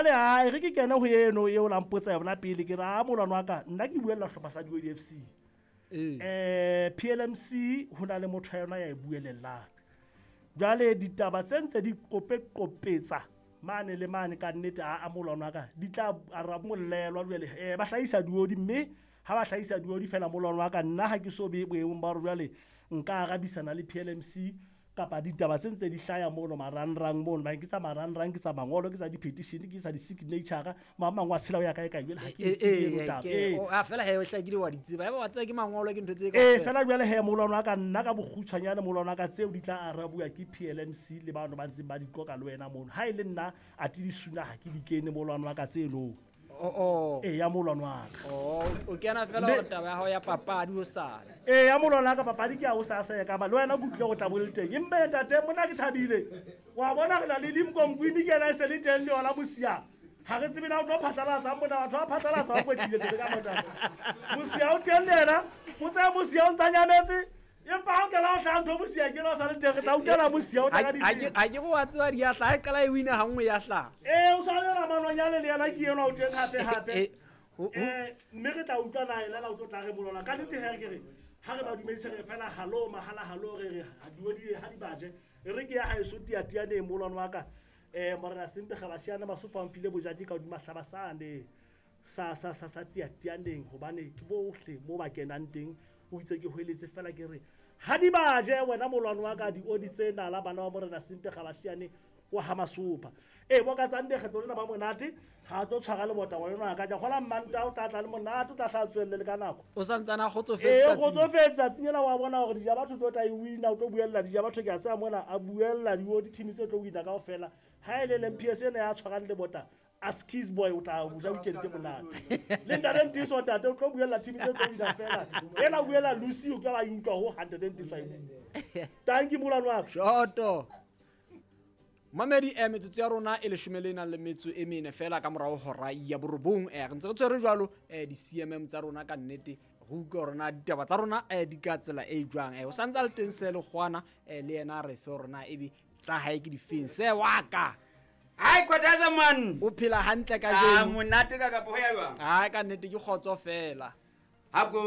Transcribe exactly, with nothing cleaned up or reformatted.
Jwale ha e re ke kene ho eno eo la mpotsa yona pele ke re a molwana wa ka nna ke buella hlopha sa Diodi F C. Eh P L M C ho na le motho ya yona ya e buelellang. Jwale ditaba tse ntse di kope-kopetsa mane le mane ka nnete a a molwana wa ka di tla aramollelwa jwale eh ba hlahisa diodi mme ha ba hlahisa diodi fela molwana wa ka nna ha ke so be boemong ba hore jwale nka arabisana le P L M C kapa ditaba tse ntse di hlaya mono marangrang mono ba ke tsa marangrang ke tsa mangolo ke tsa di-petition ke tsa di-signature ma mang wa tshela o ya kae kae jwale ha ke e e a fela he o hlakile wa di tseba ya ba tseba ke mangolo ke ntho tse ka eh fela jwale he molwana wa ka nna ka bokgutshwanyane molwana wa ka tseo di tla arabuwa ke P L M C le bano ba ntseng ba di qoka le wena mono ha e le nna a ti di suna ha ke di kene molwana wa ka tseno o o e ya molwana wa ka o o kena fela hore taba ya hao ya papadi o sala e ya molwana wa ka papadi ke ya o sa sa ya ka ba le wena kutlwe go tla bo le teng empa ntate mona ke thabile wa bona re na le Limkonkwini ke ena e se le teng le yona mosia ha re tsebe na o tlo phatlalatsa mona batho ba phatlalatsa ba kwetlile teng ka mona mosia o teng le yena o tsaya mosia o ntsa nyametse empa ha o kena o hlaha ntho mosia ke no sa le teng re tla utlwela mosia o tla ka di a ke go wa tseba di ya hlaha e qala e wina ha nngwe ya hlaha eh o swanela manonyane le yena ke yena o teng hape hape eh mme re tla utlwa na ena la o tlo tla re molwana ka nnete he ke re ha re ba dumedise re fela halo mahala halo re re ha diodi ha di baje re ke ya ha eso tiatiane molwana wa ka eh morena Sempe Gabashiana Masopha mfile bojadi ka hodima hlabasane sa sa sa sa tiatianeng hobane ke bohle mo ba kenang teng o itse ke hoeletse fela ke re ha di baje wena molwana wa ka diodi tsena la bana ba morena Sempe Gabashiane wa ha Masopha e bo ka tsande kgetlo lena ba monate ha tlo tshwara le bota wena ka ja gola mmanta o tla tla le monate o tla hla tswelle le ka nako o santsana kgotsofetse e kgotsofetse tsatsing la wa bona hore dija batho tlo tla e wina o tlo buella dija batho ke a tsaya mona a buella diodi team tse tlo wina kaofela ha ile le M P S ena ya tshwarang le bota Askies boy o tla buja weekend monate le ntate Ntiso ntate o tlo buella team tse tlo wina fela ena buella Lucy o ka ba utlwa ho hundred Ntiso e bua thank you molwana wa ka shoto Mamedi e metsotso ya rona e leshome le nang le metso e mene fela ka morao hora ya borobong eh re ntse re tshwere jwalo eh di C M M tsa rona ka nnete go utlwa hore na ditaba tsa rona eh di ka tsela e jwang eh o santse a le teng se le kgwana eh le yena re fe hore na ebe tsa hae ke difeng se wa ka Hai kwataza man o phela hantle ka jeno ah monate ka kapo ya jwang ha ka nnete ke kgotso fela ha go